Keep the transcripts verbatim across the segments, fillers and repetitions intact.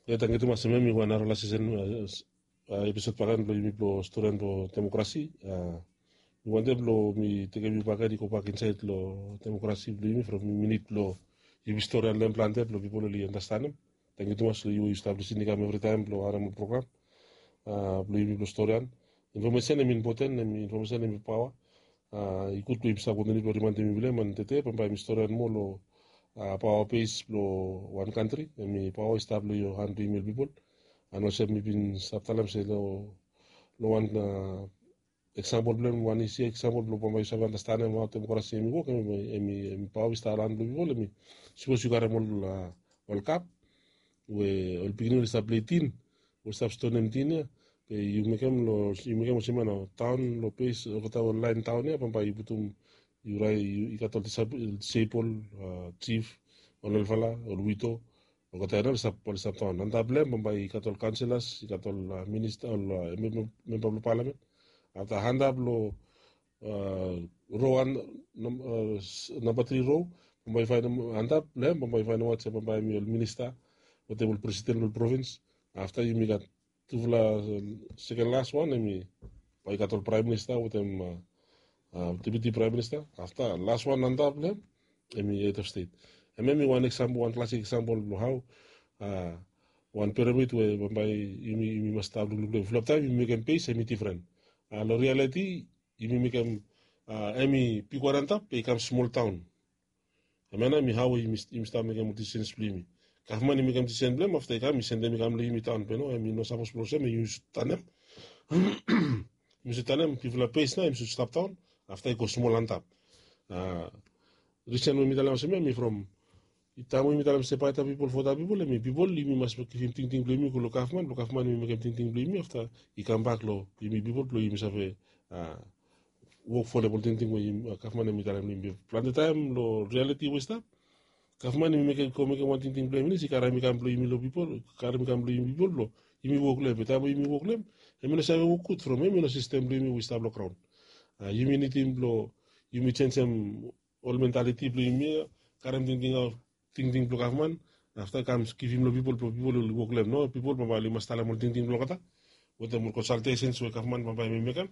Ya, tangkiu tumas. Hemia mi wan narafala sesen, a, episod bakegen blong yumi blong storian blong demokrasi. A, mi wantem blong mi tekem yu bakegen i go bak insaed long demokrasi blong yumi from minit blong yumi storian long hem plante blong pipol oli andastanem. Tangkiu tumas long yu we yu stap lisin i kam evritaem blong harem ol program, a, blong yumi blong storian. Infomesen hem impoten, hem infomesen hem paoa. A, i gud blong yumi stap kontiniu blong rimaendem yumi long hem, and tede bambae mi storian moa long, a, paoa bes blong wan kantri. Hemi paoa i stap long han blong yumi ol pipol. And olsem mi bin stap talem se long, long wan, a, eksampol blong hem, wan isi eksampol blong bambae yu save andastanem hao demokrasi hemi wok, hemi, hemi, hemi paoa i stap long han blong pipol, hemi, sapos yu karem ol, a, ol kap we ol pikinini oli stap plei tin, oli stap stonem tin ya, be yu mekem long, yu mekem olsem ya nao, taon long ples olgeta ol laen taon ya, bambae yu putum, yu raet, yu, i gat ol disab-, disable, a, jif, ol helfala, ol wido, olgeta ya nao oli stap, oli stap taon. Antap long hem bambae i gat ol kaonselas, i gat ol, a, minista, ol, a, mem-, mem-, memba blong palamen. Afta antap long, a, ro wan, nam-, a, s-, namba tri ro, bambae i faenem antap long hem, bambae i faenem aot se bambae hemi ol minista wetem ol presiden blong ol provins. Afta yumi gat tufala, a, seken las wan, hemi bae i gat ol praem minista wetem, a, a, deputi praem minista. Afta las wan antap long hem, hemi hed of stet. Hemia hemi wan eksampol, wan klasik eksampol blong hao, a, wan piramid we bambae yumi, yumi mas stap lukluk long hem. Fulap taem yumi mekem bes hemi difren. A, long rialiti, yumi mekem, a, hemi bigwan antap, be i kam smol taon. Hemia nao hemi hao we yumi, yumi stap mekem ol disisens blong yumi. Gavman i mekem disisen blong hem, afta i kam, i sendem i kam long yumi taon. Be no, hemi no sapos blong olsem, hemi yu sud tanem. Yumi sud tanem, bifala bes nao, hemi sud stap taon, afta i go smol antap. A, risen we mi talem olsem ya, hemi from, taem we yumi talem se baeta pipol, vota pipol, hemi pipol, yumi mas givim tingting blong yumi go long gavman, blong gavman hemi mekem tingting blong yumi, afta i kambak long yumi pipol blong yumi save, a, wok folem ol tingting we yumi, a, gavman hemi talem long yumi. Plante taem long rialiti we i stap, gavman hemi mekem, go mekem wan tingting blong hem finis, i karem i kam blong yumi long pipol, karem i kam blong yumi pipol blong yumi wok long hem. Be taem we yumi wok long hem, hemi no save wok gud from hemi no sistem blong yumi we i stap long graon. A, yumi nidim blong yumi jenisim ol mentaliti blong yumi ya, karem tingting aot, tingting blong gavman, afta kam givim long pipol, blong pipol oli wok long hem. No, pipol bambae oli mas talem ol tingting blong olgeta wetem ol konsaltesens we gavman bambae hemi mekem.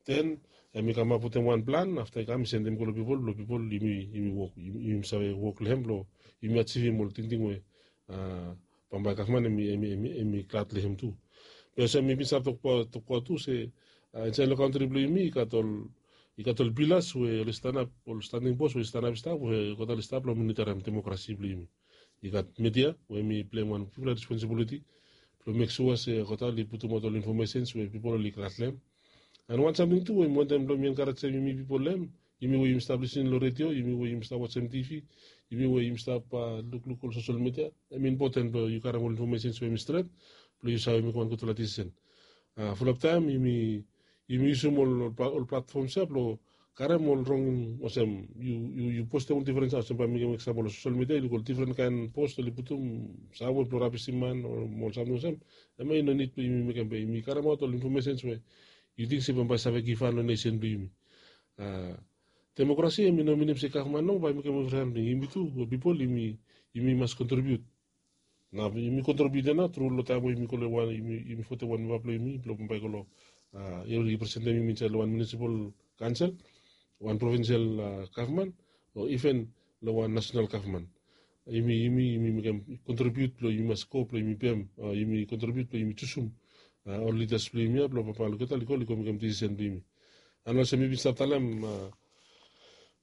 Den hemi kamap wetem wan plan, afta i kam i sendem go long pipol, blong pipol yumi, yumi wok, yumi, yumi save wok long hem blong yumi ajivim ol tingting we, a, bambae gavman hemi, hemi, hemi, hemi glad long hem tu. Be olsem mi bin stap tokbaot, tokbaot tu se, a, insaed long kantri blong yumi i gat ol, i gat ol pilas we oli stanap, ol standing pos we oli stanap i stap, we olgeta oli stap blong monitarem demokrasi blong yumi. I gat midia we hemi pleim wan bigfala responsibiliti blong mek sua se olgeta oli putum aot ol infomesens we pipol oli glad long hem. And wan samting tu we mi wantem blong mi enkarejem yumi pipol long hem, yumi we yumi stap lisin long redio, yumi we yumi stap wajem tivi, yumi we yumi stap, a, lukluk ol sosel midia, hemi impoten blong yu karem ol infomesens we hemi stret blong yu save mekem wan gudfala disisen. A, fulap taem yumi, yumi yusum ol, ol pla-, ol platfoms ya blong karem ol rong, olsem yu, yu, yu postem ol difren, olsem bae mi mekem eksampol long sosel midia, yu luk ol difren kaen post oli putum, sam we blong rabisim man o ol samting olsem. Hemia i no nid blong yumi mekem, be yumi karemaot ol infomesens we yu ting se bambae i save givhan long nesen blong yumi. A, demokrasi hemi no minim se gavman nao bae i mekem evri samting. Yumi tu, ol pipol, yumi, yumi mas kontribiut. Nao yumi kontribiut ya nao tru long taem we yumi go long wan, yumi, yumi votem wan memba blong yumi blong bambae i go long, a, i representem yumi insaed long wan munisipal kaonsel, wan provinsial, a, gavman, o iven long wan nasonal gavman. Yumi, yumi, yumi mekem kontribiut blong yumi mas go blong yumi pem, a, yumi kontribiut blong yumi jusum, a, ol lidas blong yumi ya blong bambae olgeta oli go, oli go mekem disisen blong yumi. And olsem mi bin stap talem, a,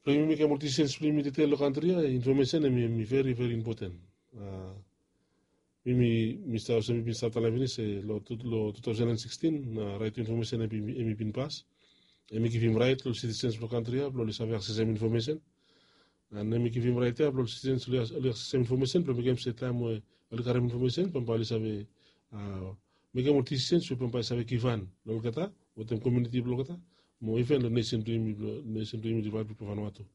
blong yumi mekem ol disisens blong yumi tede long kantri ya, infomesen hemi, hemi veri, veri impoten. A, mi, mi, mi stap, olsem mi bin stap talem finis se long tu, long two thousand and sixteen, a, Right to Information hemi, hemi bin pas. Hemi givim raet long sitisens blong kantri ya blong oli save aksesem infomesen. And hemi givim raet ya blong ol sitisens oli, oli aksesem infomesen blong mekem se taem we oli karem infomesen bambae oli save, a, mekem ol disisens we bambae i save givhan long olgeta wetem komuniti blong olgeta, mo iven long nesen blong yumi, blong nesen blong yumi, Ripablik blong Vanuatu.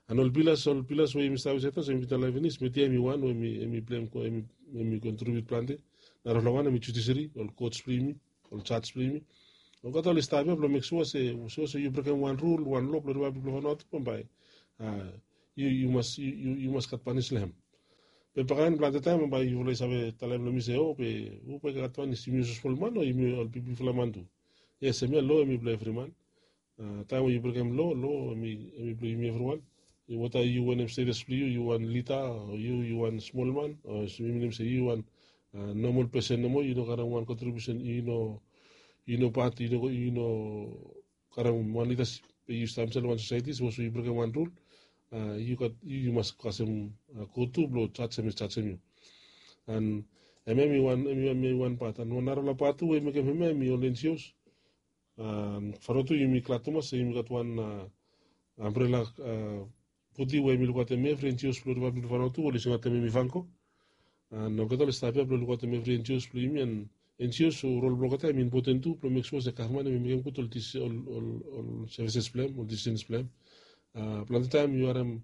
And ol pilas, ol pilas we yumi stap insaed ya, olsem mi bin talem finis, midia hemi wan we hemi, hemi pleim, hemi, hemi kontribiut plante. Narafala wan hemi judiseri, ol kots blong yumi, ol jaj blong yumi. Olgeta oli stap ya blong mek sua se, sapos yu brekem wan rul, wan loa blong Ripablik blong Vanuatu, bambae, a, yu, yu mas, yu, yu, yu mas gat panis long hem. Be baken plante taem bae yufala i save talem long mi se, o, be hu bae i gat man, yumi olsem smol man o yumi ol bigfala man tu? Yes, hemia lo hemi blong evri man. Taem we yu brekem lo, lo hemi blong yumi evriwan. Weta yu wanem status blong yu, yu wan lida o yu wan smol man, o mi minim se yu wan nomol pesen nomo, yu no karem wan kontribiusen, yu no pat, yu no karem wan lidasip, be yu stap insaed long wan sosaeti, sapos we yu brekem wan rul, yu gat, yu mas kasem go tu blong jajem, jajem yu. An hemia hemi wan, hemi wan pat. An wan narafala pat tu we i mekem hemia hemi ol NGOs. Fano tu yumi glad tumas se yumi gat wan ambrela bodi we hemi lukaotem evri NGOs blong Ripablik blong Fano tu, oli singaotem hemi FANGO. An olgeta oli stap ia blong lukaotem evri NGOs blong yumi. An NGOs rol blong olgeta hemi impoten tu blong mek sua se gavman hemi mekem gud ol, ol, ol sevises blong hem, ol disisens blong hem. Plante taem yu harem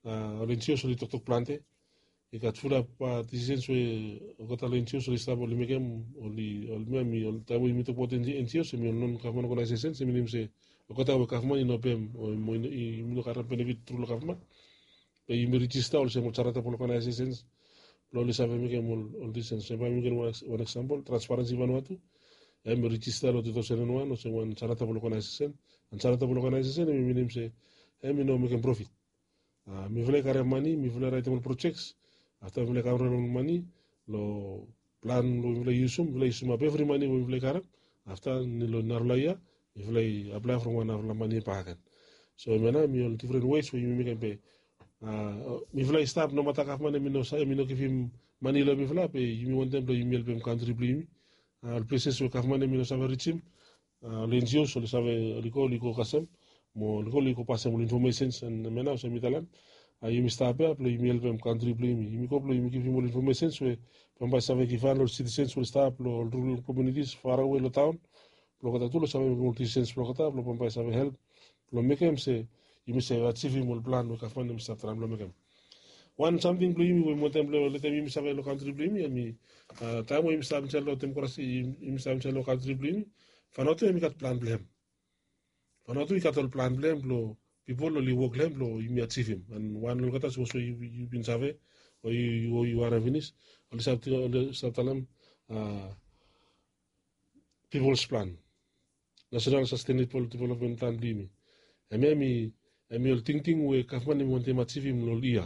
ol NGOs oli toktok plante. I gat fulap disisens we olgeta long NGOs oli stap oli mekem, oli, ol, hemi ol, taem we yumi tokbaot NGOs, hemi ol non gavman oganaesesens, hemi minim se olgeta we gavman i no pem o yumi no karem benefit tru long gavman, be yumi rijista olsem ol charitable oganaesesens blong oli save mekem ol, ol disisens. Bae mi givim wan eksampol, Transparency Vanuatu, hemi rijista long tu taosen wan olsem wan charitable oganaesesen. An charitable oganaesesen hemi minim se hemi no mekem profit. Mifala i karem mane, mifala i raetem ol projeks. Afta mifala i kam raetem ol mane long plan we mifala i yusum, mifala i yusum ap evri mane we mifala i karem. Afta long narafala yia mifala i aplae from wan narafala mane bakegen. So hemia nao hemi ol difren wes we yumi mekem be mifala i stap, nomata gavman hemi no sa, hemi no givim mane long mifala, be yumi wantem blong yumi helpem kantri blong yumi. Ol pleses we gavman hemi no save rijim, ol NGOs oli save, oli go, oli go kasem, mo oli go, oli go pasem ol infomesens. An hemia nao olsem mi talem, yumi stap ia blong yumi helpem kantri blong yumi. Yumi go blong yumi givim ol infomesens we bambae i save givhan long ol sitisens we oli stap long ol rural komunitis farawe long taon, blong olgeta tu oli save mekem ol disisens blong olgeta, blong bambae i save help blong mekem se yumi save ajivim ol plan we gavman hemi stap traem blong mekem. Wan samting blong yumi we mi wantem blong letem yumi save long kantri blong yumi, hemi taem we yumi stap insaed long demokrasi, yumi stap insaed long kantri blong yumi, Vanuatu hemi gat plan blong hem. Vanuatu i gat ol plan blong hem blong pipol oli wok long hem blong yumi ajivim. An wan olgeta, sapos we yu bin save o yu, o yu harem finis, oli stap talem People's Plan, National Sustainable Development Plan blong yumi. Hemia hemi ol tingting we gavman hemi wantem ajivim long ol yia.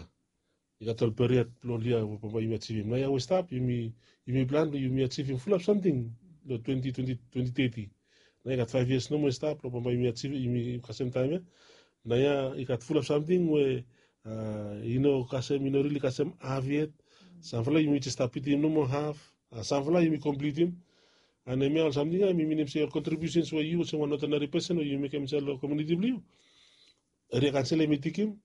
I gat ol period blong ol yia we bambae yumi ajivim. Naoia we i stap, yumi plan blong yumi ajivim fulap samting long twenti twenti, twenti teti. Naoia i gat faef yias nomo i stap blong bambae yumi ajivim, yumi kasem taem ia. Naoia i gat fulap samting we i no kasem, i no rili kasem haf yet. Samfala yumi jes stap bitim nomo haf. Samfala yumi komplitim. An hemia ol samting ia hemi minim se ol kontribiusens we yu olsem wan odinari pesen we yu mekem insaed long komuniti blong yu, eria kaonsel hemi tikim,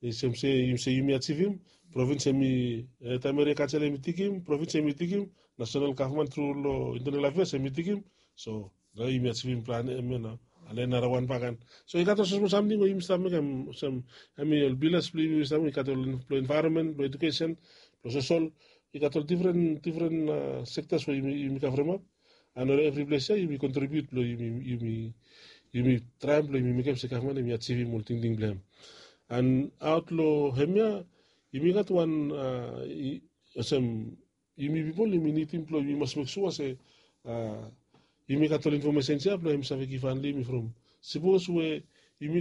olsem se yumi ajivim. Provins hemi, taem eria kaonsel hemi tikim, provins hemi tikim, nasonal gavman tru long Internal Affairs hemi tikim. So nao yumi ajivim plan hemia nao. An nao narawan bakegen. So i gat ol smosmol samting we yumi stap mekem, olsem hemi ol pilas blong yumi stap, i gat ol blong envaeronmen, blong ejukesen, blong sosol. I gat ol difren, difren sektas we yumi kavremap. An long evri ples ia yumi kontribiut blong yumi, yumi traem blong yumi mekem se gavman hemi ajivim ol tingting blong hem. An aot long hemia yumi gat wan, olsem, yumi pipol yumi nidim blong yumi mas mek sua se yumi gat ol infomesens ia blong hem save givhan long yumi from. Sapos we yumi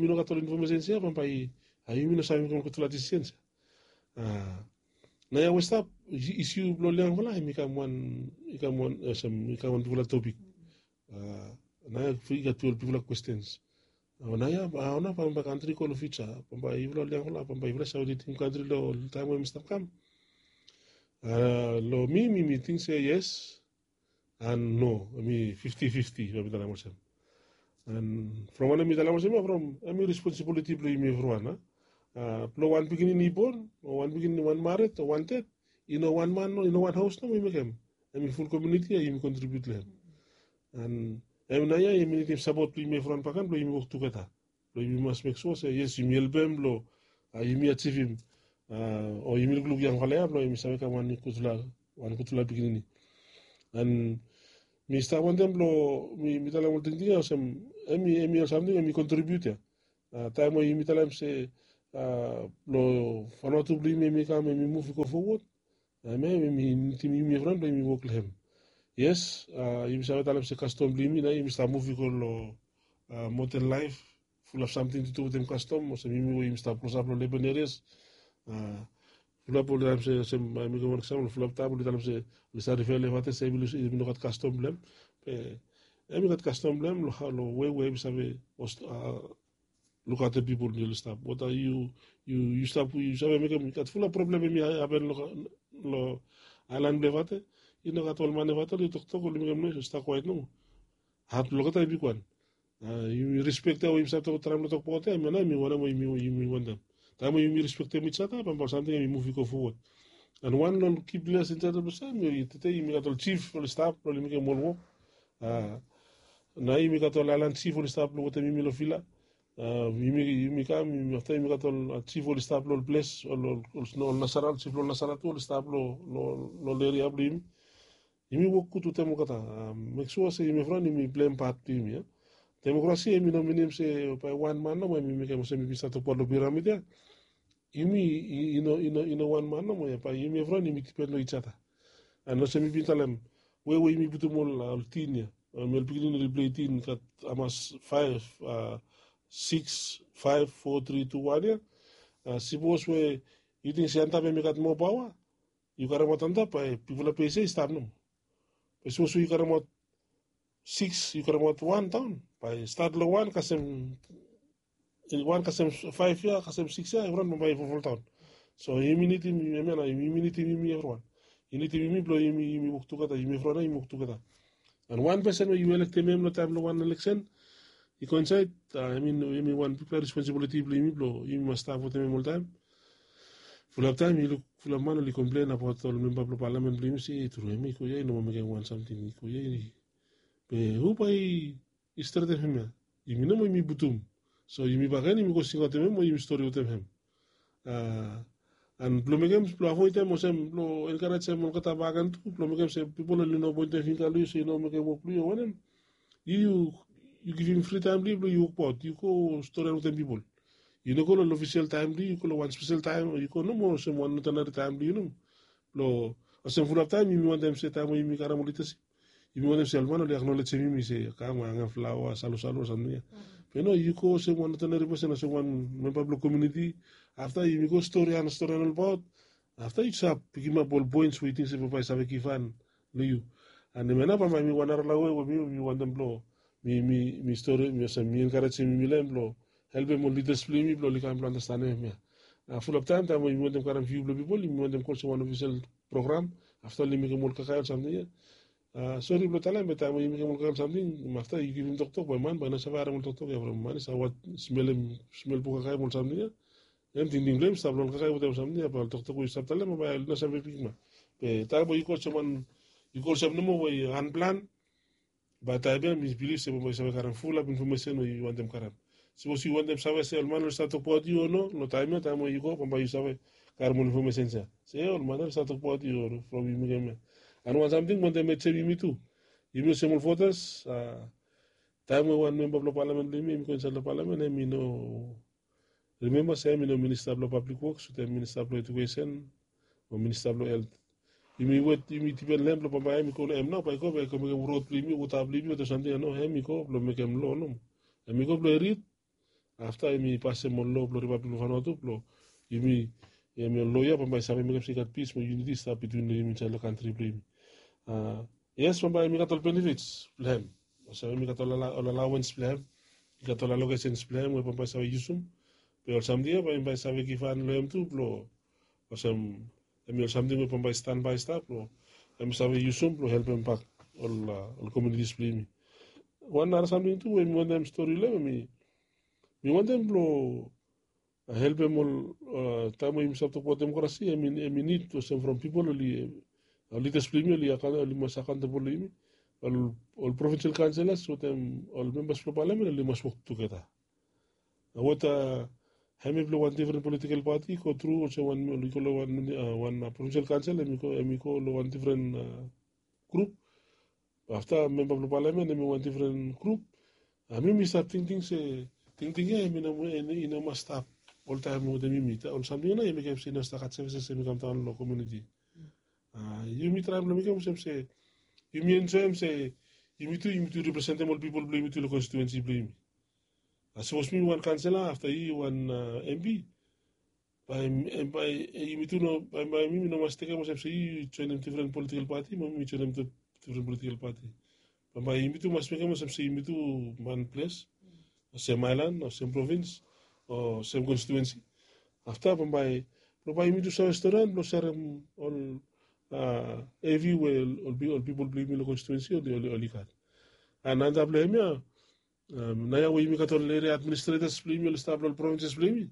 no gat ol infomesens ia, bambae yumi no save mekem ol gudfala disisens ia. Naoia we i stap, isiu blong ol yangfala hemi kam wan, i kam wan, olsem, i kam wan bigfala topik. Naoia i gat ol bigfala kwestens. Naoia hao nao bambae kantri i go long fiuja, bambae yufala ol yangfala, bambae yufala i save lidim kantri long ol taem we hemi stap kam? Long mi, mi, mi ting se yes. An no, hemi fifti fifti, bae mi talem olsem. An from wanem mi talem olsem ia, from hemi responsibiliti blong yumi evriwan. Blong wan pikinini i bon, o wan pikinini, wan mared o wan ded, i no wan man, i no wan haos nomo i mekem. Hemi ful komuniti ia yumi kontribiut long hem. An hemia naoia yumi nidim sapot blong yumi evriwan bakegen blong yumi wok tugeta. Blong yumi mas mek sua se yes, yumi helpem blong yumi ajivim, o yumi lukluk yangfala ia blong hemi save kam wan gudfala, wan gudfala pikinini. An mi stap wantem blong mi talem ol tingting ia olsem, hemi, hemi ol samting hemi kontribiut ia. Taem we yumi talem se long fanatu blong yumi em i kam em i muv i go fowod. Em ya em i nidim yumi evriwan blong yumi wok long hem. Yes, yumi save talem se kastom blong yumi nao yumi stap muv i go long moden laef, fulap samting tu tu wetem kastom olsem yumi we yumi stap klosap long leben erias. Fulap oli talem se olsem mi go wan eksampol fulap taem oli talem se oli save rifea long evate se em i no gat kastom blong hem. Be em i gat kastom blong hem long we we em i save lukaotem pipol oli stap wata yu yu yu stap yu save mekem i gat fulap problem em i hapen long aelan blong evate. I no gat ol man evate oli toktok oli mekem noes oli stap kwaet nomo. Hat blong olgeta i bigwan. Yumi rispektem we yumi save tok traem long tok paote em ya nao em i wanem we yumi wantem. Taem we yumi rispektem ijata bambae ol samting em i muv i go fowod. An wan long ki ples insaed long ples ya em i tete yumi gat ol jif oli stap blong oli mekem ol wok. Nao yumi gat ol aelan jif oli stap blong wetem yumi long vila. Yumi kam afta yumi gat ol jif oli stap long ol ples ol nasara ol jif long ol nasara tu oli stap long ol eria blong yumi. Yumi wok gud wetem olgeta. Mek sua se yumi evriwan yumi pleim pat blong yumi ya. Demokrasi em i no minim se bae wan man nomo em i mekem olsem yumi stap tokbaot long piramid ya. Yumi i no wan man nomo ya bae yumi evriwan yumi dipen long ijata. An olsem mi bin talem we we yumi putum ol tin ya, ol pikinini oli plei tin gat hamas faef, siks, faef, fo, tri, tu, wan ya. Sipos we yu ting se antap em i gat moa paoa, yu karemaot antap bae bigfala ples ya i stap nomo. Be sipos we yu karemaot siks yu karemaot wan daon, bae stat long wan kasem wan kasem faef ya kasem siks ya evriwan bambae i folfoldaon. So yumi nidim yumi evriwan. Yu nidim yumi blong yumi wok tugeta yumi evriwan ya yumi wok tugeta. An wan pesen we yu elektem em long taem long wan eleksen i go insaed. Em i wan bigfala responsibiliti blong yumi blong yumi mas stap wetem em oltaem. Fulap taem yu luk fulap man oli komplen abaot ol memba blong palamen blong yumi se tru em i go ya i no moa mekem wan samting i go ya. Be hu bae i stretem hem ya? Yumi nomo yumi putum. So yumi bakegen yumi go singaotem hem o yumi stori wetem hem. An blong mekem blong avoedem olsem blong enkarejem olgeta bakegen tu blong mekem se pipol oli no poentem fingga long yu se yu no mekem wok blong yu o wanem. Yu yu givim fri taem blong yu blong yu wokbaot yu go storian wetem pipol. Yu no go long ofisel taem blong yu yu go long wan spesel taem o yu go nomo olsem wan odenari taem blong yu nomo. Blong olsem fulap taem yumi wantem se taem we yumi karem ol lidasip yumi wantem se ol man oli aknolejem yumi se kam angem flaoa salosalua samting ya. Be no yu go olsem wan odenari pesen olsem wan memba blong komiuniti. Afta yumi go storian storian olbaot. Afta yu save pikimap ol poens we yu ting se bambae i save givhan long yu. An hemia nao bambae mi wan narala we we mi wantem blong mi mi mi stori mi olsem mi enkarejem yumi long hem blong helpem ol lidas blong yumi blong oli kam blong anastanem hemia. Fulap taem taem we yumi wantem karem fiu blong pipol yumi wantem go olsem wan ofisel program. Afta oli mekem ol kakae ol samting ya. Sori blong talem be taem we yu mekem ol kakae ol samting afta yu givim toktok bae man bae i no save harem ol toktok ya from man i save smelem smel blong kakae ol samting ya. Em tingting blong hem i stap long ol kakae wetem ol samting ya bae ol toktok we yu stap talem bae oli no save pikimap. Be taem we yu go olsem wan yu go olsem nomo we yu anplan. Bae taem ya mi bilif se bambae yu save karem fulap infomesen we yu wantem karem. Sipos yu wantem save se ol man oli save tokbaot yu o no long taem ya taem we yu go bambae yu save karem ol infomesens ya se ol man ya oli save tokbaot yu o no from yu mekem ya. An wan samting mi wantem metem yumi tu. Yumi olsem ol votas a taem we wan memba blong palamen blong yumi em i go insaed long palamen em i no rimemba se em i no minista blong pablik woks wetem minista blong ejukesen o minista blong helt. Yumi wet yumi dipen long em blong bambae em i go long em nao bae i go bae i go mekem rod blong yumi wota blong yumi wetem samting ya no em i go blong mekem lo nomo. Em i go blong i rid afta em i pasem ol lo blong ripablik blong fanua tu blong yumi em i ol loia bambae i save mekem se i gat pis mo yuniti i stap bitwin long yumi insaed long kantri blong yumi. Yes bambae em i gat ol benefits blong em olsem em i gat ol alawens blong em i gat ol alokesens blong em we bambae i save yusum. Be ol samting ya bambae i save givhan long em tu blong olsem em i ol samting we bambae i stanbae i stap blong em i save yusum blong helpem bak ol komunitis blong yumi. Wan nara samting tu we mi wantem stori long em em i mi wantem blong helpem ol taem we yumi stap tokbaot demokrasi em i nid olsem from pipol oli ol lidas blong yumi oli mas akaontebol long yumi. Ol provinsel kaonselas wetem ol membas blong palamen oli mas wok tugeta. Weta hemi blong wan difren politikel pati i go tru olsem wan i go long wan provinsel kaonsel hemi go long wan difren grup. Afta memba blong palamen hemi wan difren grup. Hemi mi stap tingting se tingting ya hemi no mas stap oltaem wetem yumi. Ol samting ya nao i mekem se i no stap gat sevises ya i kam daon long komuniti. Yumi traem long mekem olsem se yumi enjoem se yumi tu yumi tu representem ol pipol blong yumi tu long konstituensi blong yumi. Sapos mi wan kansela afta yu wan empi, bae yumi tu no bae yumi no mas tekem olsem se yu joenem difren politikel pati mo mi joenem difren politikel pati. Bambae yumi tu mas mekem olsem se yumi tu wan ples, o sem aelan, o sem provins, o sem konstituensi. Afta bambae blong bae yumi tu save storian blong serem ol evi we ol pipol blong yumi long konstituensi oli gat. An antap long hemia, naoia we yumi gat ol eria administretas blong yumi oli stap long ol provinses blong yumi,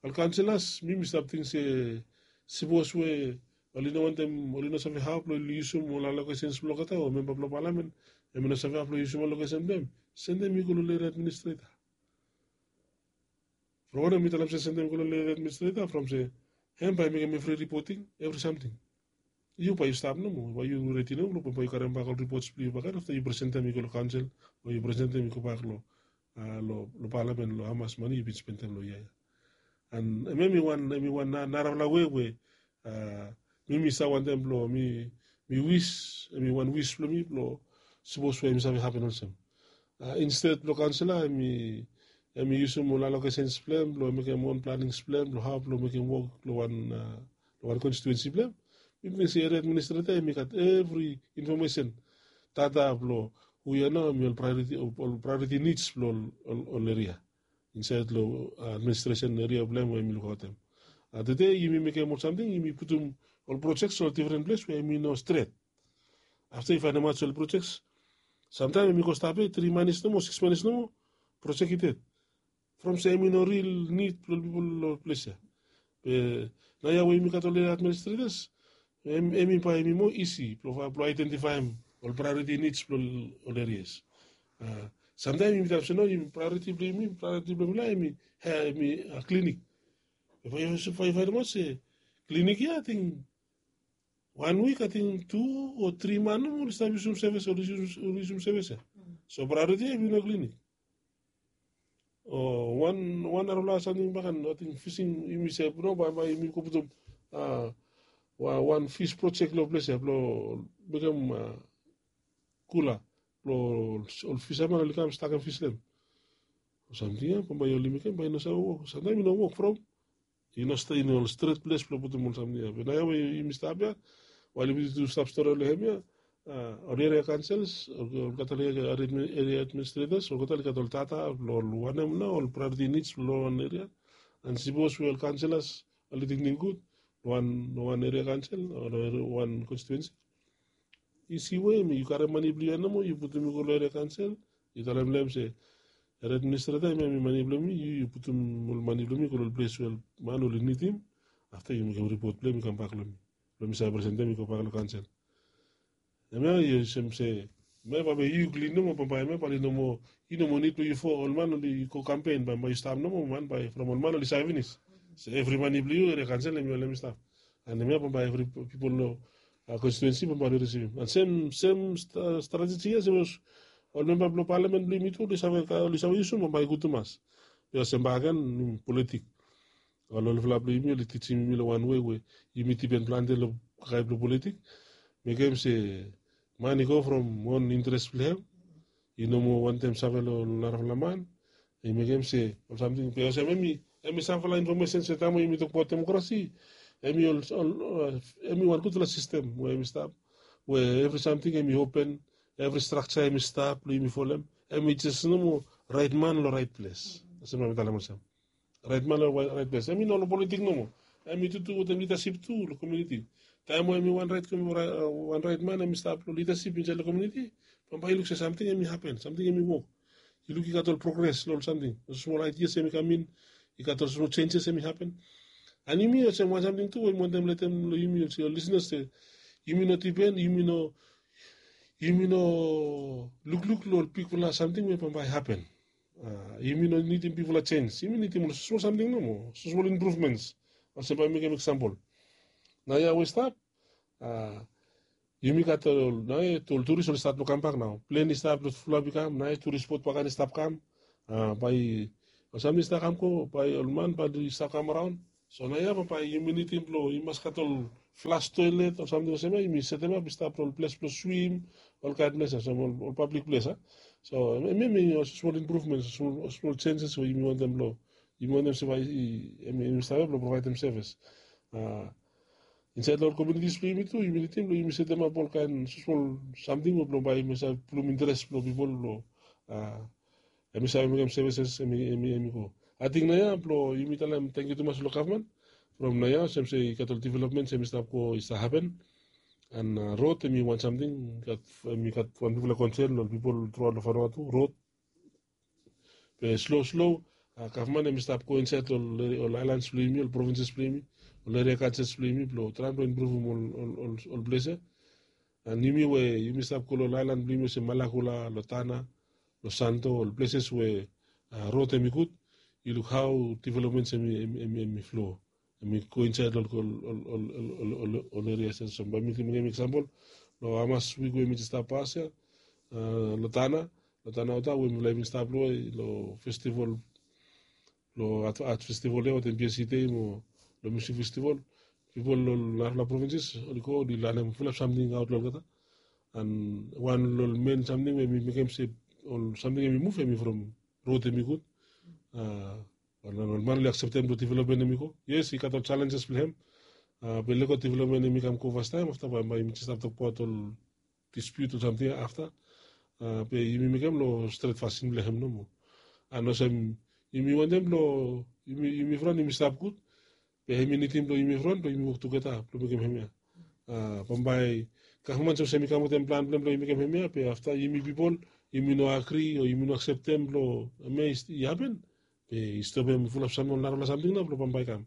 ol kaunselas, mi mi stap ting se sipos we oli no wantem, oli no save hao blong oli yusum ol alokesens blong olgeta, o memba blong palamen em i no save hao blong yusum alokesen blong em, sendem i go long eria administreta. From wanem mi talem se sendem i go long eria administreta? From se em bae i mekem evri ripoting, evri samting. Yu bae yu stap nomo, bae yu redi nomo blong bae yu karem bak ol ripots blong yu bak ya afta yu presentem i go long kaonsel, o yu presentem i go bak long palamen long hamas mane yu bin spendem long yia ya. An em em i wan em i wan narafala wei we mi mi save wantem blong mi mi wis, em i wan wis blong mi blong sipos we em i save hapen olsem. Insted blong kaonsela em i em i yusum ol alokesens blong em blong mekem wan planings blong em blong hao blong mekem wok long wan long wan konstituensi blong em. Mi ting se eria administreta em i gat evri infomesen data blong hu ya nao em i ol praeoriti nits blong ol eria insaed long administresen eria blong em we em i lukaotem. Tede yumi mekem ol samting, yumi putum ol projeks long difren ples we em i no stret. Afta yu faenemaot se ol projeks samtaem em i go stap ya tri manis nomo, sikis manis nomo, projek i ded. From se em i no ril nid blong ol pipol long ples ya. Be naoia we yumi gat ol eria administretas, em i bae em i moa isi blong aedentifaem ol praeoriti nits blong ol erias. Samtaem yumi talem se no, praeoriti blong yumi, praeoriti blong mifala em i klinik. Be bae yu faenemaot se klinik ya ating wan wik ating tu o tri man nomo oli stap yusum sevis, oli yusum sevis ya. So praeoriti ya em i no klinik. O wan wan narafala samting bakan, ating fising, yumi se no, bae bae yumi go putum wan fis projek long ples ya blong mekem kula blong ol fisaman oli kam stakem fis long em. Ol samting ya bambae oli mekem bae i no save wok, samtaem i no wok from i no stret ples blong putum ol samting ya. Be naoia we yumi stap ya, wael yumi tu stap stori long hem ya, ol eria kaonsels, olgeta ol eria administretas, olgeta oli gat ol data blong ol wanem nao ol praeoriti nits blong wan eria. An sipos we ol kaonselas oli tingting gud long wan eria kaonsel o long wan konstituensi, isi we yu karem mane blong yu ya nomo yu putum i go long eria kaonsel, yu talem long hem se, eria administreta, hemia hemi mane blong mi, yu yu putum ol mane blong mi i go long ol ples we ol man oli nidim. Afta yu mekem ripot blong hem i kambak long mi blong mi save presentem i gobak long kaonsel. Hemia yu olsem se, hemia bambae yu klin nomo, bambae hemia bae oli no moa, i no moa nid blong yu fo ol man oli go kampen, bambae yu stap nomo man bae from ol man oli save finis se evri mane blong yu eria kaonsel hemi ol hemi stap. An hemia bambae evri pipol long konstituensi bambae oli risivim. An sem sem strateji ya sapos ol memba blong palamen blong yumi tu oli save oli save yusum, bambae i gud tumas. Bikos sem bakegen, politik. Ol olfala blong yumi oli tijim yumi long wan wei we yumi dipen plante long kakae blong politik. Mekem se man i go from wan interes blong hem, i no moa wantem save long narafala man. I mekem se ol samting be olsem hemi hemi samfala infomesen se taem we yumi tokbaot demokrasi, hemi ol ol hemi wan gudfala sistem we hemi stap, we evri samting hemi open, evri strakja hemi stap blong yumi folem. Hemi jes nomo raet man long raet ples. Olsem na mi talem olsem, raet man long raet ples, hemi no long politik nomo. Hemi tutu wetem lidasip tu long komuniti. Taem we hemi wan raet man hemi stap long lidasip insaed long komuniti, bambae yu luk se samting hemi hapen, samting hemi wok. Yu luk i gat ol progres long ol samting, ol smol aidias hemi kam in, i gat ol smol jenjes hemi hapen. An yumi olsem wan samting tu we mi wantem letem long yumi olsem ol lisnas se yumi no dipen, yumi no yumi no lukluk long ol bigfala samting we bambae i hapen. Yumi no nidim bigfala jens, yumi nidim ol smol samting nomo, smol impruvmens. Olsem bae mi mekem eksampol, naoia we i stap, yumi gat ol naoia ol turis oli stat long kambak nao, plen i stap long fulap i kam, naoia turis bot bakegen i stap kam. Bae Ol samting i stap kam go, bae ol man bae oli stap kam araon. So naoia bae yumi nidim blong i mas gat ol flas toelet o samting olsem ia, yumi setemap i stap long ol ples blong swim, ol kaen ples ia, olsem ol pablik ples ia. So em em i ol smol impruvmens, ol smol jenjes we yumi wantem blong, yumi wantem se bae i em i stap ia blong provaedem sevis. Insaed long ol komunitis blong yumi tu yumi nidim blong yumi setemap ol kaen smol samting we blong bae yumi save pulum interes blong pipol blong em i save mekem sevises em i go. Ating naoia blong yumi talem tangkiu tumas long gavman from naoia olsem se i gat ol developmens em i stap go i stap hapen. An rod em i wan samting, em i gat wan bigfala konsen long ol pipol truaot long Vanuatu, rod. Be slo slo gavman em i stap go insaed long ol aelans blong yumi, ol provinses blong yumi, ol eria gajes blong yumi blong traem blong impruvum ol ples ia. An yumi we yumi stap go long ol aelan blong yumi olsem Malakula, long Tanna, long Santo, ol pleses we rod em i gud, yu luk hao developmens em i flo, em i go insaed long ol erias ia. Olsem bae mi mekem eksampol long hamas wik we mi jes stap pas ia, long Tanna, long Tanna Ota we mifala i bin stap long festival, long art festival ia wetem BSC Day mo long musik festival. Pipol long narafala provinses oli go oli lanem fulap samting aot long olgeta. An wan long ol men samting we mi mekem se ol samting em i muv em i from rod em i gud. Ol man oli akseptem long developmen em i go. Yes, i gat ol jalenjes blong hem. Be lego developmen em i kam go fastaem afta bae mi jes stap tokbaot ol dispute o samting afta. Be yumi mekem long stret fasin blong hem nomo. An olsem yumi wantem blong yumi fron yumi stap gud. Be hem i nidim blong yumi fron blong yumi wok tugeta blong mekem hemia. Bambae gavman sapos hem i kam wetem plan blong hem blong yumi mekem hemia be afta yumi pipol yumi no agri o yumi no akseptem blong hemia i hapen. Be i stopem fulap sam ol narafala samting nao blong bambae i kam.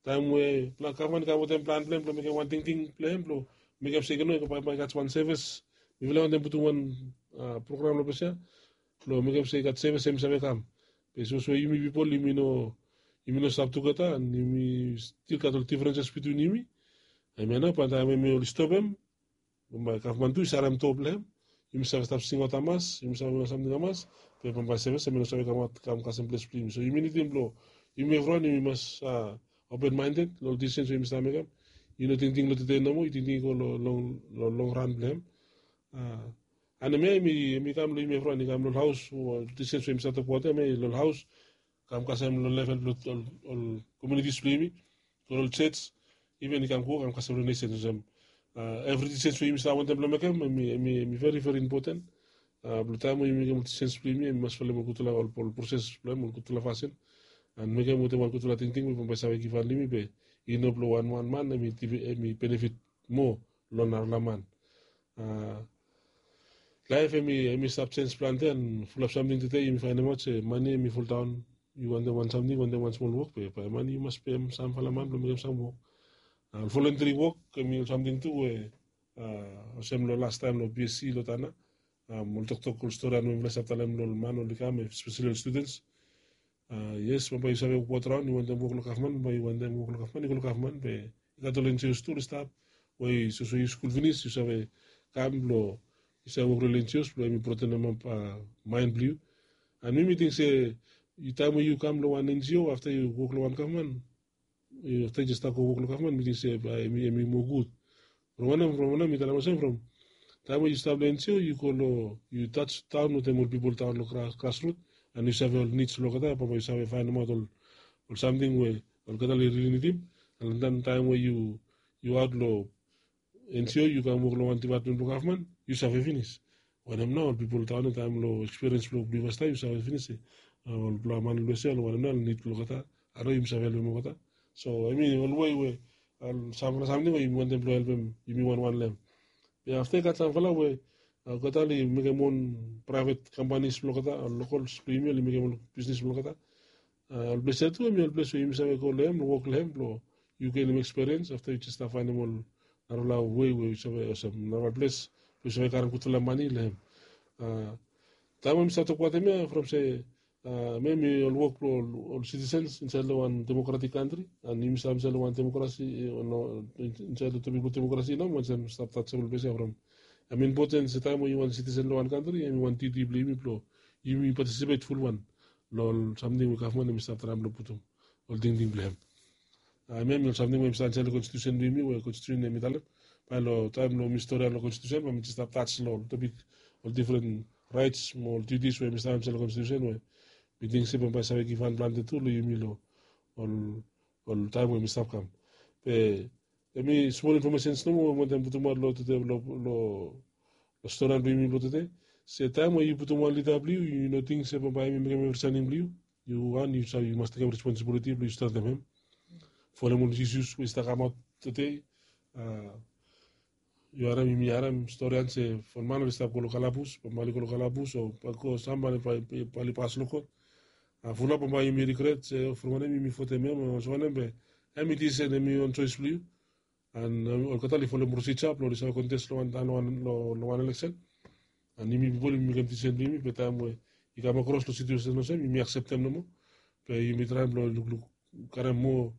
Taem we gavman i kam wetem plan blong hem blong mekem wan tingting blong hem blong mekem se i no i go bambae i gat wan sevis. Mifala i wantem putum wan program long ples ia blong mekem se i gat sevis em i save kam. Be sapos we yumi pipol yumi no stap tugeta an yumi stil gat ol difrenses bitwin yumi, hemia nao bae taem hemi oli stopem, bambae gavman tu i sarem doa blong hem. Yumi save stap singaot hamas, yumi save mekem samting hamas. Be bambae sevis hemi no save kamaot kam kasem ples blong yumi. So yumi nidim blong yumi evriwan yumi mas open minded long ol disisens we yumi stap mekem. Yu no tingting long tede nomo, yu tingting i go long long long ran blong hem. An hemia hemi kam long yumi evriwan, i kam long ol haos, disisens we yumi stap tokbaot hemia long ol haos, kam kasem long level blong ol komunitis blong yumi, long ol jos, iven i kam go kam kasem long nesens olsem evri disens we yumi stap wantem blong mekem hemi veri veri impoten. Blong taem we yumi mekem ol disens blong yumi hemi mas folem ol gudfala ol proses blong hem ol gudfala fasin. An mekem wetem wan gudfala tingting we bambae i save givhan long yumi be i no blong wan wan man hemi benefit moa long narafala man. Laef hemi stap jenj plante an fulap samting tede yumi faenemaot se mane hemi foldaon. Yu wantem wan samting wantem wan smol wok be bae mane yu mas pem samfala man blong mekem sam wok. Ol voluntary wok hemi ol samting tu we olsem long lastaem long BSC long Tanna, ol toktok ol stori an we mifala i stap talem long ol man oli kam espeseli ol studens. Yes, bambae yu save wokbaot raon yu wantem wok long gavman, bambae yu wantem wok long gavman yu go long gavman be i gat ol NGOs tu oli stap we sapos we yu skul finis yu save kam blong yu save wok long ol NGOs blong hemi broadenemap maen blong yu. An mi mi ting se taem we yu kam long wan NGO afta yu wok long wan gavman, afta yu jes stap go wok long gavman mi ting se bae hemi moa gud. From wanem from wanem mi talem olsem from taem we yu stap long NGO yu go long yu touch taon wetem ol pipol taon long grasrut an yu save ol nids blong olgeta bambae yu save faenemaot ol samting we olgeta oli rili nidim. An taem we yu aot long NGO yu kam wok long wan dipatmen blong gavman yu save finis. Wanem nao ol pipol taon ya taem long ekspiriens blong blue vasta yu save finis se ol blong man long USA long wanem nao ol nid blong olgeta. Aro yumi save helpem olgeta. So hemi ol wei we ol samfala samting we yumi wantem blong helpem yumi wanwan long hem. Be afta i gat samfala we olgeta oli mekem on praevet kampanis blong olgeta, ol lokols blong yumi oli mekem ol bisnis blong olgeta. Ol ples ya tu hemi ol ples we yumi save go long hem long wok long hem blong yu genem ekspiriens afta yu jes stap faenem ol narafala wei we yu save olsem narafala ples blong yu save karem gudfala mane long hem. Taem we mi stap tokbaot hemia from se hemia hemi ol wok blong ol sitisens insaed long wan demokratik kantri an yumi stap insaed long wan demokrasi, insaed long topik blong demokrasi nao mi wantem stap tajem ol ples ya from hemi impoten se taem we yu wan sitisen long wan kantri hemi wan diti blong yumi blong yumi patisipet fulwan long ol samting we gavman em i stap traem blong putum ol tingting blong hem. Hemia em i ol samting we em i stap insaed long konstitusen blong yumi we konstitusen em i talem. Bae long taem blong mi storian long konstitusen bae mi jes stap taj long ol topik, ol difren raets mo ol diutis we em i stap insaed long konstitusen we mi ting se bambae save givhan plante tu long yumi long ol ol taem we mi stap kam. Be em i smol infomesens nomo we mi wantem putumaot long tede long long storian blong yumi blong tede. Se taem we yu putum wan lida blong yu, yu no ting se bambae em i mekem evri saening blong yu. Yu wan yu save yu mas tekem responsibiliti blong yu stretem hem. Folem ol isus we i stap kamaot tede. Yu harem yumi harem storian se from man oli stap go long kalabus, bambae oli go long kalabus o bae go sam bae oli pas long kot. Fulap bambae yumi rigret se from wanem yumi votem hem o olsem wanem be em i disisen, em i wan soes blong yu. An olgeta oli folem prosija blong oli save kontes long wan taon long wan eleksen. An yumi pipol yumi mekem disisen blong yumi be taem we i kam akros long situesen olsem yumi akseptem nomo. Be yumi traem blong lukluk karem moa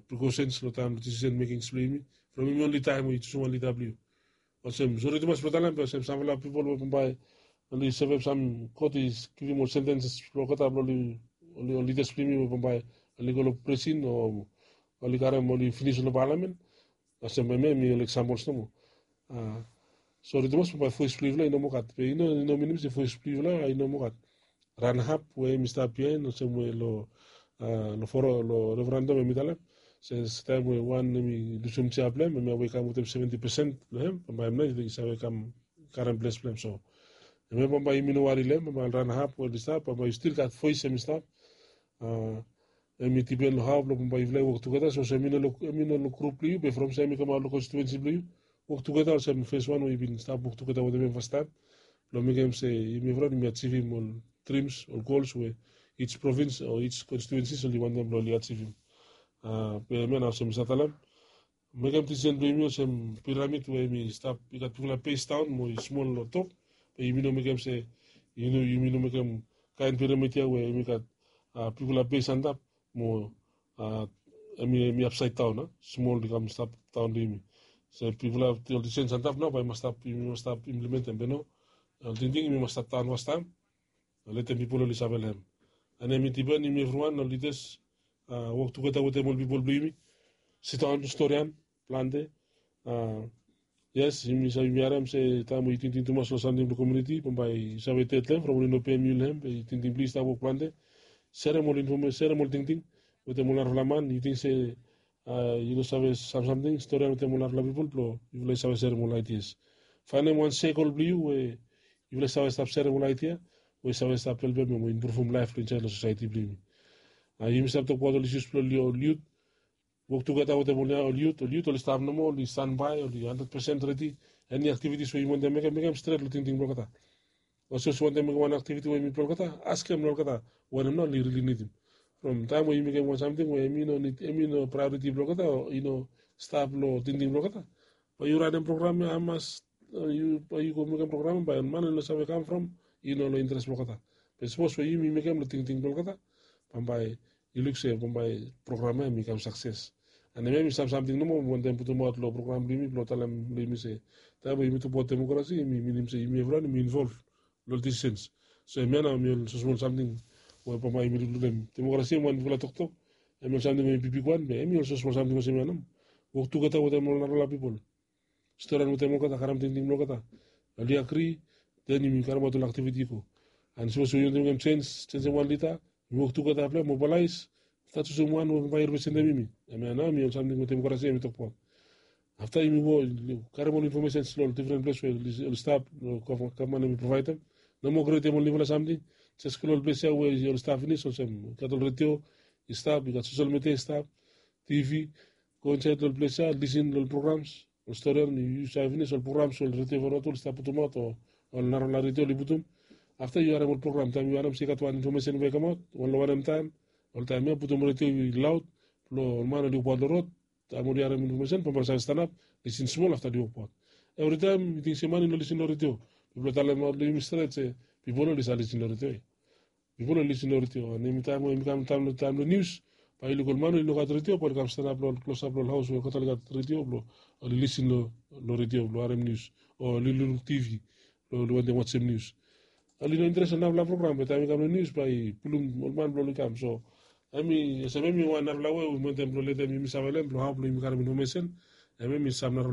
prikosens long taem long disisen mekings blong yumi. From yumi onli taem we yu jusum wan lida blong yu. Olsem sori tumas blong talem be olsem samfala pipol we bambae oli sevem sam kot i givim ol sentenses blong olgeta blong oli ol lidas blong yumi we bambae oli go long prisin o oli karem oli finis long palamen. Olsem hemia em i ol eksampol nomo. Sori tumas bambae voes blong yufala i no moa gat be i no i no minim se voes blong yufala i no moa gat. Ran hap we em i stap biaen olsem we long long foro long referendum em i talem se taem we wan em i lusum jia blong hem, hemia we i kam wetem seventi pesen blong hem bambae hem nao i save kam karem ples blong hem. So hemia bambae yumi no wari long hem, bambae ol ran hap we oli stap bambae yu stil gat voes em i stap. Em i dipen long hao blong bambae yufala i wok tugeta sapos em i no long grup blong yu be from saem i kamaot long konstituensi blong yu. Wok tugeta olsem fes wan we yu bin stap wok tugeta wetem em fastaem blong mekem se yumi evriwan yumi ajivim ol drims ol gols we ij provins o ij konstituensis oli wantem blong oli ajivim. Be hemia nao olsem mi save talem mekem disisen blong yumi olsem piramid we em i stap i gat bigfala bes daon mo i smol long top. Be yumi no mekem se yumi no mekem kaen piramid ya we em i gat bigfala bes antap mo em i apsaed daon a smol i kam stap daon long yumi. Se bigfala ol disisen antap nao bae i mas stap yumi mas stap implementem be no ol tingting yumi mas stap daon fastaem. Letem pipol oli save long hem. An em i dipen yumi evriwan ol lidas wok tugeta wetem ol pipol blong yumi. Sidaon storian plante. Yes yumi save yumi harem se taem we yu tingting tumas long samting blong komuniti bambae yu save ded long hem from oli no pem yu long hem be yu tingting blong yu i stap wok plante. Serem ol infome serem ol tingting wetem ol narafala man yu ting se yu no save sam samting storian wetem ol narafala pipol blong yufala i save serem ol aidias. Faenem wan sekol blong yu we yufala i save stap serem ol aidia we i save stap helpem em we impruvum laef blong insaed long sosaeti blong yumi. Yumi stap tokbaot ol isus blong ol yut. Wok tugeta wetem ol yut ol yut oli stap nomo oli stanbae oli handred pesen redi. Eni aktivitis we yumi wantem mekem mekem stret long tingting blong olgeta. Olsem olsem wantem mekem wan aktiviti we yumi blong olgeta askem long olgeta wanem nao oli rili nidim. From taem we yumi mekem wan samting we em i no praeoriti blong olgeta o i no stap long tingting blong olgeta, bae yu ranem program ya hamas bae yu go mekem program ya bae ol man oli no save kam from i no long interes blong olgeta. Be sapos we yumi mekem long tingting blong olgeta bambae yu luk se bambae program ya em i kam sakses. An hemia em i sam samting nomo mi wantem putumaot long program blong yumi blong talem long yumi se taem we yumi tokbaot demokrasi em i minim se yumi evriwan yumi involv long ol disisens. So hemia nao em i ol smosmol samting we bambae yumi lukluk long hem. Demokrasi em wan bigfala toktok em i ol samting we i bigbigwan be em i ol smosmol samting olsem ya nao. Wok tugeta wetem ol narafala pipol storian wetem olgeta karem tingting blong olgeta. Oli agri den yumi karemaot ol aktiviti i go. An sapos we yu wantem mekem jens jensem wan lida yumi wok tugeta blong hem mobalaes. Afta jusum wan we bae i representem yumi. Hemia nao em i ol samting we demokrasi em i tokbaot. Afta yumi go karem ol infomesens long ol difren ples we oli stap long gavman em i provaedem. No moa krietem ol niufala samting. Jes go long ol ples ya we oli stap finis olsem i gat ol redio i stap i gat sosel midia i stap, tivi. Go insaed long ol ples ya lisin long ol programs ol storian yu save finis ol programs ol redio fo rot oli stap putumaot o ol narafala redio oli putum. Afta yu harem ol program taem yu harem se i gat wan infomesen we i kamaot wan long wanem taem. Oltaem ya putum redio i laot blong ol man oli wokbaot long rod. Taem oli harem infomesen bambae oli save stanap lisin smol afta oli wokbaot. Evritaem yu ting se man i no lisin long redio. Mifala talemaot long yumi stret se pipol oli save lisin long redio ya. Pipol oli lisin long redio an em i taem we em i kam taem long taem long nius bae yu luk ol man oli no gat redio bae oli kam stanap long ol klosap long ol haos we olgeta oli gat redio blong oli lisin long redio blong harem nius o oli lukluk tivi blong oli wantem wajem nius. Oli no interes long narapela program be taem i kam long nius bae i pulum ol man blong oli kam. So em i olsem em i wan narapela we we mentem blong letem yumi save long em blong hao blong yumi karim infomesen. Em em i sam narapela